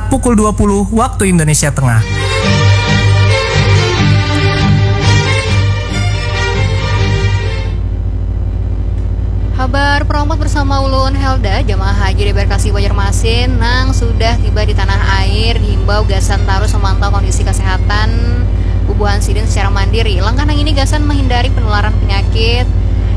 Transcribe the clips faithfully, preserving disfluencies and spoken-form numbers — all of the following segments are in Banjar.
pukul dua puluh waktu Indonesia Tengah. Habar Peromot bersama ulun Helda. Jamaah haji di embarkasi Banjarmasin nang sudah tiba di tanah air diimbau gasan tarus memantau kondisi kesehatan bubuhan sidin secara mandiri. Langkah nang ini gasan menghindari penularan penyakit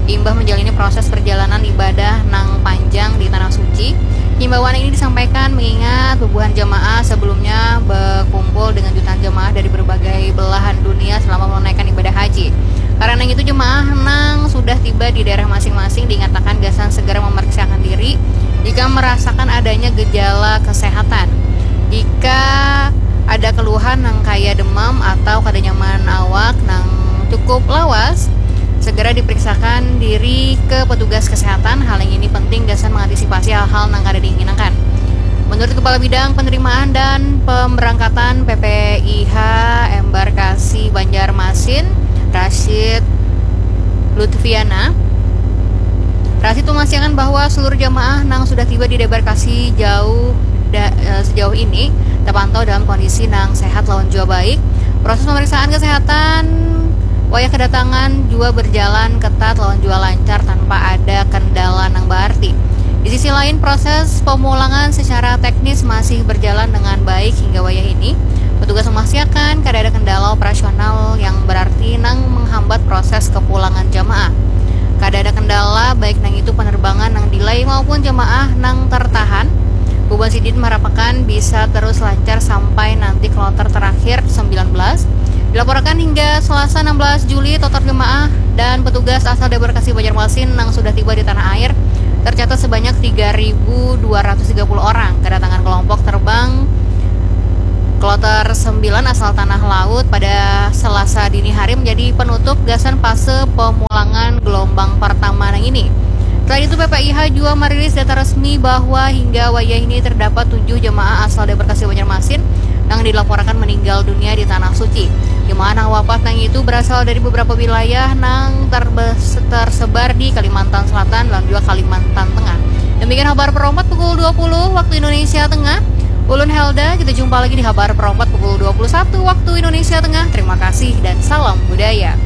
imbah menjalani proses perjalanan ibadah nang panjang di tanah suci. Himbauan ini disampaikan mengingat bubuhan jamaah sebelumnya berkumpul dengan jutaan jamaah dari berbagai belahan dunia selama menunaikan ibadah haji. Karena itu, jemaah nang sudah tiba di daerah masing-masing diingatkan gasan segera memeriksakan diri jika merasakan adanya gejala kesehatan. Jika ada keluhan nang kaya demam atau kada nyaman awak nang cukup lawas, segera diperiksakan diri ke petugas kesehatan. Hal yang ini penting gasan mengantisipasi hal-hal nang kada diinginkan. Menurut Kepala Bidang Penerimaan dan Pemberangkatan P P I H Embarkasi Banjarmasin, Rashid Lutfiana, Rashid memastikan bahwa seluruh jamaah nang sudah tiba di debarkasi jauh da, eh, sejauh ini terpantau dalam kondisi nang sehat lawan jua baik. Proses pemeriksaan kesehatan wayah kedatangan jua berjalan ketat lawan jua lancar tanpa ada kendala nang berarti. Di sisi lain, proses pemulangan secara teknis masih berjalan dengan baik hingga wayah ini. Petugas memastikan kada ada kendala operasional yang berarti nang menghambat proses kepulangan jamaah. Kada ada kendala baik nang itu penerbangan nang delay maupun jamaah nang tertahan. Bubuhan sidin marapakan bisa terus lancar sampai nanti kloter terakhir sembilan belas. Dilaporkan hingga Selasa enam belas Juli, total jemaah dan petugas asal debarkasi Banjarmasin nang sudah tiba di tanah air tercatat sebanyak tiga ribu dua ratus tiga puluh orang. Kedatangan kelompok terbang kloter sembilan asal Tanah Laut pada Selasa dini hari menjadi penutup gasan fase pemulangan gelombang pertama nang ini. Selain itu, P P I H jua merilis data resmi bahwa hingga wayah ini terdapat tujuh jemaah asal debarkasi Banjarmasin nang dilaporkan meninggal dunia di Tanah Suci. Jemaah nang wafat nang itu berasal dari beberapa wilayah nang terbes- tersebar di Kalimantan Selatan dan juga Kalimantan Tengah. Demikian Habar Peromot pukul dua puluh waktu Indonesia Tengah. Ulun Helda, kita jumpa lagi di Habar Peromot pukul dua puluh satu waktu Indonesia Tengah. Terima kasih dan salam budaya.